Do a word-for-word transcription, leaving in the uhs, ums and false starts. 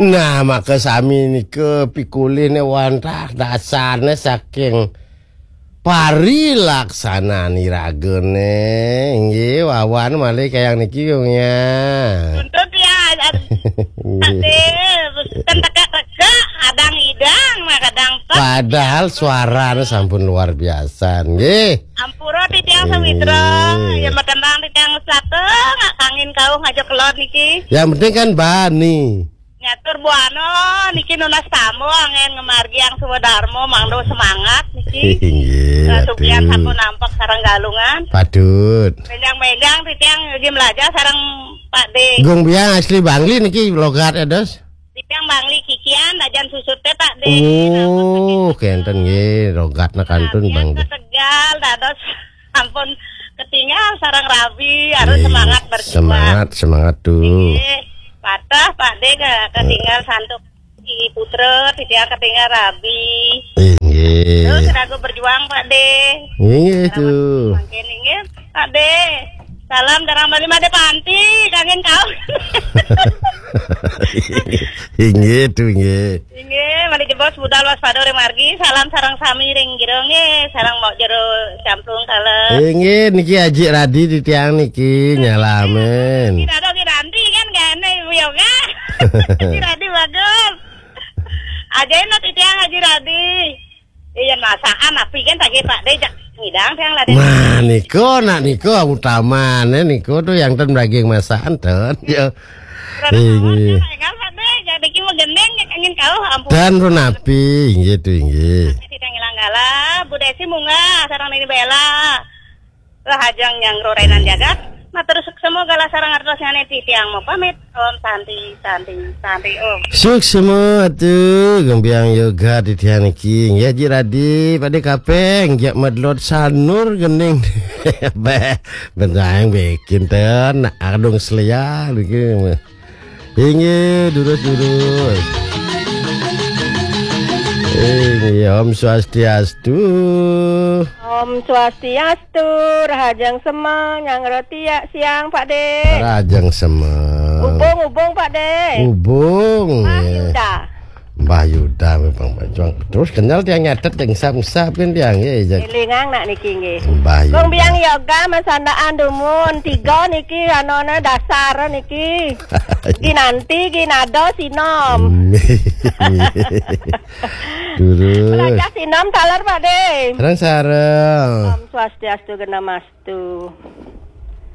Nah, maka sami nika pikulihne wantah dasarne saking parilaksanan iragane. Inggih, wawan malih kayang niki, Gung, ya. Tuntut ya, ad-, Nggih. Aduh, kan tegak-tegak, kadang idang, mah kadang tek. Padahal suarane sampun luar biasa, nggih. Ampura titiang sawitra, Nggih. Ya matendang titiang satengah kangin kauh ngajak kelod niki. Yang penting kan bani. Nyatur buana niki nunas tamu angin ngamargiang swadarma mangda semangat niki. Inggih, Nah, sugihan aduh. Sampun nampak sareng galungan. Patut. Benjang-benjang titiang ugi melajar sareng Pak De. Gung Biang asli Bangli niki logat ya, Dos? Titiang Bangli kikian dajan susut teh Pak De. Oh, kenten nggih, logatna kantun Bangli. Tegal dados ampun ketinggal sareng rabi, harus Iya, semangat berjuang. Semangat, semangat tuh. Nggih. Patah Pak De ke-, ketinggal santuk di putra, titiang ketinggal rabi. Inggih. Terus ragu berjuang Pak De. Inggih tuh. Mungkin inggih Pak De. Salam darang Bali Made Panti, kangen kau. Inggih tuh, inggih. Inggih, malih jebos budal waspada ring margi. Salam sareng sami ring jero nggih, sareng Mbok Jero Camplung kala. Inggih, niki Aji Radi titiang niki nyalamin. Tidak ada Aji Radi kan gane Ibu Yoga. Aji Radi bagus. Ajain no titiang Aji Radi. Iya masakan api kan tadi Pak De jak ngidang tiang lah. Nah, niku nak niku utamane niku tuh yang ten daging masakan ten. Ya. Terus Inggih. Enggak Pak De, jadi ki mau gendeng ya kangen kau ampun. Dan pun api, inggih tuh inggih. Tidak ngilang gala, Bu Desi munggah sareng Nini Bella. Rahajeng nyangro rainan jagat. Matur suksma galah sareng artos nyane titiang mau pamit. Om Santi, Santi, Santi Om. Suksma atuh, Gung Biang Yoga titiang niki. Nggih Ji Radi, Pak De Kapeng, jak medlot sanur gening. Beh, bentang bikin ten, nak adung selia niki. Inggih, durus-durus. Inggih, Om Swastiastu. Om Swastiastu, rahajeng semeng, nyangro tiak siang, Pak De. Rahajeng semeng. Ubung, ubung, Pak De. Ubung, Mbah ya. Yuda. Mbah Yuda memang berjuang. Terus kenal tiang nyatet, tiang ngesap-ngesap kan tiang, ya, ya. Elingang nak niki, nggih. Mbah Yuda. Gung Biang Yoga, masandaan dumun, tiga niki, anone dasar niki. Ginanti, ginado, sinom. Durus. Belajar sinom taler, Pak De. Sareng-sareng. Om Swastiastu, Genamastu.